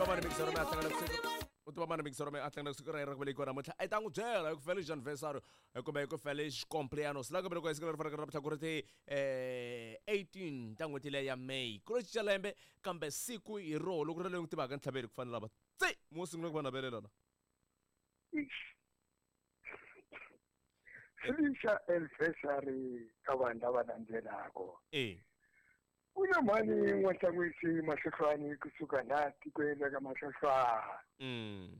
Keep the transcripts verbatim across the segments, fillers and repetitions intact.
tiva mani mixero mi a hlangana siku u tiva mani mixero mi a hlangana siku ra yena ra ku velekiwa namuntlha i ta n'wi byela hi ku feliz anniversario kumbe hi ku feliz cumpleaños la ku velekiwa hi siku leri faneleke namuntlha ku ri ti eh eighteen ta n'hweti leyi ya May ku ro cinca lembe kambe siku hi roho loko ri leyi n'wi tivaka ntlhaveli ku fanele lava tsi mo sungula ku va navelela la Felicia anniversary ka vanhu lava landzelaka eh ku na mhani n'wahlangwisi mahlohlwani kusuka laha tikweni ra ka mahlohlwana mm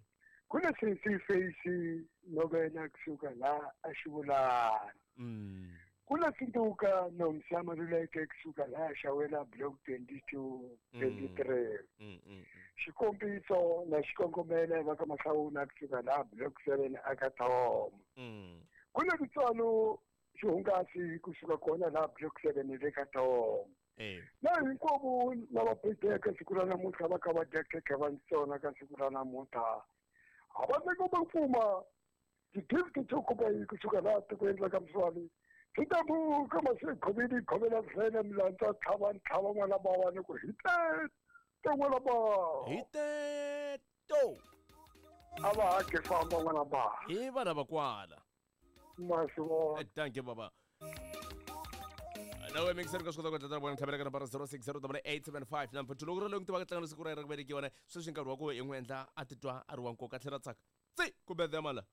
ku na sesi Face Novena kusuka laha a Xivulana mm ku na Sinduka Nomsa Maluleke kusuka laha Xawela block twenty two twenty three mm mm xikombiso na xikongomelo va ka Mahlawula kusuka laha block seven aka Thoma mm ku na Titswalo xihungasi kusuka kona laha block seven le ka Thoma eh na hinkwavo lava betheke siku ra namuntlha va kha va dya khekhe va ntsona ka siku ra namuntlha a va teka va pfuma ti-gift to kuma yi kusuka laha tikweni ra ka Mswali swi ta buka masekhoveni khovela vhele milandza tlhava ntlhava n'wana bawa ni ku hi teto n'wana bawa hi teto a va hake famba n'wana bawa hi vana va kwala ma swi vona thank you baba nawe mixer ka swi kota ku endla vona tlhavela ka nambara zero six zero double eight seven five number two loko ri loyi ku tivaka tlangana siku ra yena ra ku velekiwa ne sweswi nkarhi wa ku i n'wi endla a titwa a ri wa nkoka a tlhela a tsaka tsi kumbe mala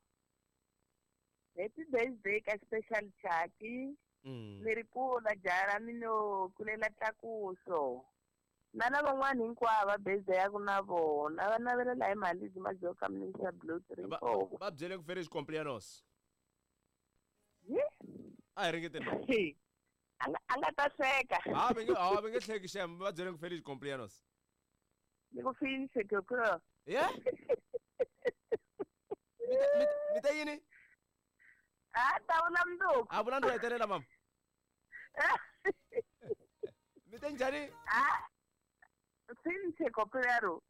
Happy birthday ka special Chaki. Mm. Ni ri kula jara mino kulela tlakuso. Na lavan'wana hinkwavo va birthday ya ku na vona va navelela hi mali majoka minisa blue three Va- four. va byele ku feliz cumpleaños Ye? a hi ringeteni A nga a nga ta hleka. ha va nge ha va nge hleki xem va byele ku feliz cumpleaños Ni ku finishe koko. ye mi ta- mi ta- mi ta yini Ah, ta vula mundzuku. a vula ndo hetelela mama mi te njhani Ah. Finishe koplero.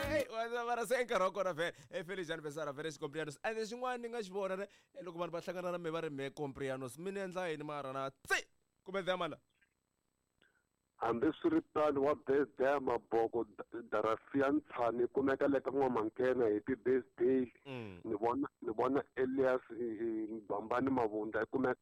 Hey, wa- mara se nkarhi wa kona vhele e feliz anniversary feliz cumpleaños ende xin'wana ni nga xi vona ne eh, loko vanhu va hlangana na me va ri me cumpleaños mi ni endla yini mara na tsi kumbe mala hambiswiritano wa birthday ya maboko Darafia Ntshani yi kumeka le ka N'wamankena happy birthday Mm. ni vona ni vona Elias eh, eh, Bambani Mavunda yi kumeka